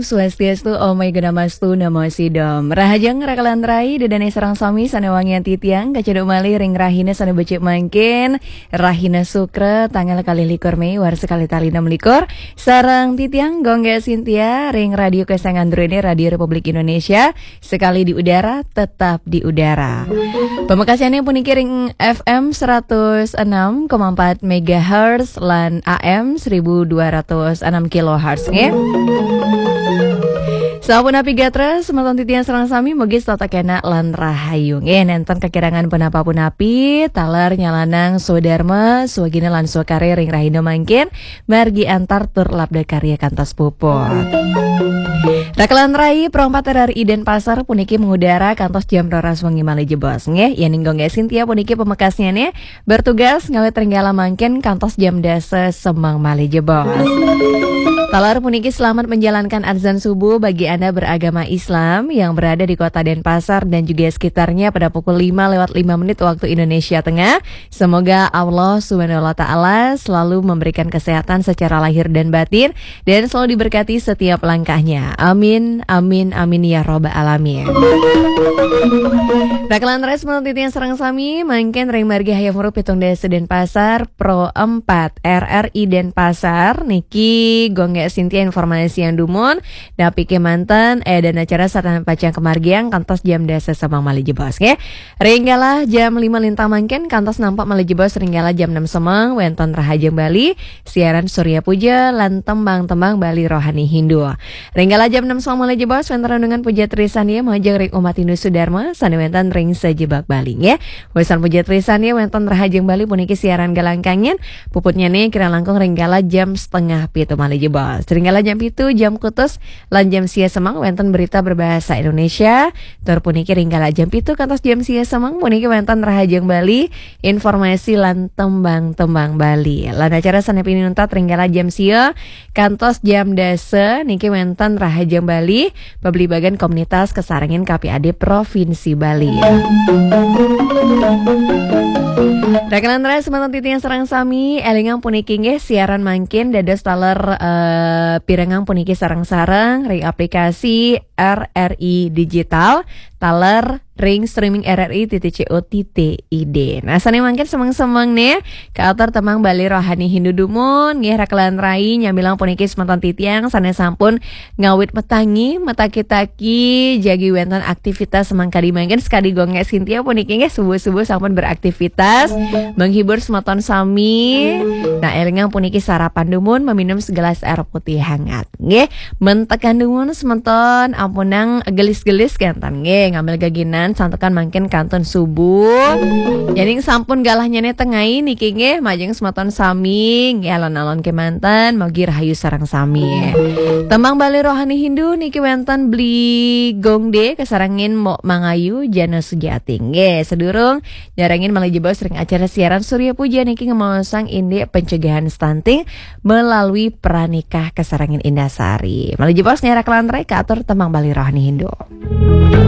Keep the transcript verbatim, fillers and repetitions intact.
Swastiastu, Om Ayu Guna Mastu, Namo Sidom. Rahajeng rakalan rai, dedane sareng sami sane wangian titiang, kacedok malih ring rahina sane becik mangkin, rahina Sukra, tanggal kalih likur Mei, warsa kalih tali enam likur, sareng titiang Gongge Sintia ring Radio Kesayangan Druene, Radio Republik Indonesia, sekali di udara, tetap di udara. Pamekasane puniki ring F M seratus enam koma empat megahertz lan A M seribu dua ratus enam kilohertz, nggih. Sapunapi gatra, semeton titiang sareng sami, mugi setata kenak lan rahayu. Nggih, nenten kakirangan punapa-punapi, taler nyalanang swadarma, swagina lan swakarya ring rahina mangkin, margi antar tur labda karya kantos puput. Rakalan rai, Pro empat R R I Denpasar puniki mengudara kantos jam roras wengi malih jebos, nggih. Yening Gongge Sintia puniki pamekasnyane, bertugas ngawit ring galah mangkin kantos jam dasa semeng malih jebos. Taler puniki selamat menjalankan azan subuh bagi Anda beragama Islam yang berada di kota Denpasar dan juga sekitarnya pada pukul lima lewat lima menit waktu Indonesia Tengah. Semoga Allah Subhanahu wa Ta'ala selalu memberikan kesehatan secara lahir dan batin dan selalu diberkati setiap langkahnya. Amin, amin, amin ya robbal alamin. Rakalan rai, semeton titiang sareng sami, mangkin ring margi Hayam Wuruk pitung dasa Denpasar, Pro empat R R I Denpasar, niki Gongge Sintia informasian dumun, napi kemanten, eh, dan acara sareng pacang kamargiang kantos jam dasa semeng malih jebos, nggih. Ring galah jam lima lintang mangkin kantos nampak malih jebos ring galah jam enam semeng wenten Rahajeng Bali, siaran Surya Puja lan tembang-tembang Bali rohani Hindu. Ring galah jam enam semeng malih jebos wenten renungan puja trisandya majeng ring umat Hindu Sudarma sane wenten ring sajebag Bali, nggih. Wesan puja trisandya wenten Rahajeng Bali puniki siaran galah kangin, puputnyane kirang langkung ring galah jam setengah pitu malih jebos. Ring galah jam pitu jam kutus lan jam sia semeng wenten berita berbahasa Indonesia. Tur puniki ring galah jam pitu kantos jam sia semeng puniki wenten Rahajeng Bali, informasi lan tembang-tembang Bali. Lan acara sane pinuntat ring galah jam sia kantos jam dasa niki wenten Rahajeng Bali, pabligbagan komunitas kasarengin K P A D Provinsi Bali. Rakalan rai, semeton titiang sareng sami, elingang puniki nggih, siaran mangkin dados taler, eh, pirengang puniki sareng-sareng ring aplikasi R R I Digital, taler ring streaming R R I titik co titik I D. Nah, sane mangkin semeng-semeng nih, katur tembang Bali rohani Hindu dumun, nggih, rakalan rai, nyamilang puniki semeton titiang sane sampun ngawit matangi, mataki-taki, jagi wenten aktivitas semeng kadi mangkin, sekadi Gongge Sintia puniki nggih subuh-subuh sampun beraktivitas, menghibur semeton sami. Nah, elingang puniki sarapan dumun, meminum segelas air putih hangat. Nggih, mentekan dumun semeton ampunang gelis-gelis kenten nggih, ngambil geginan santukan mangkin kantun subuh. Yening sampun galahnyane tengai niki nggih, majeng semeton sami nggih, alon-alon kemanten, mugi rahayu sareng sami. Tembang Bali rohani Hindu niki wenten Bli Gongde kasarengin Mok Mangayu Jana Sujati. Nggih, sedurung nyarengin malih jebos ring acara siaran Surya Puja niki ngemaosang indik pencegahan stunting melalui pranikah kasarengin Indasari. Malih jebos ngerak lantarai katur tembang Bali rohani Hindu.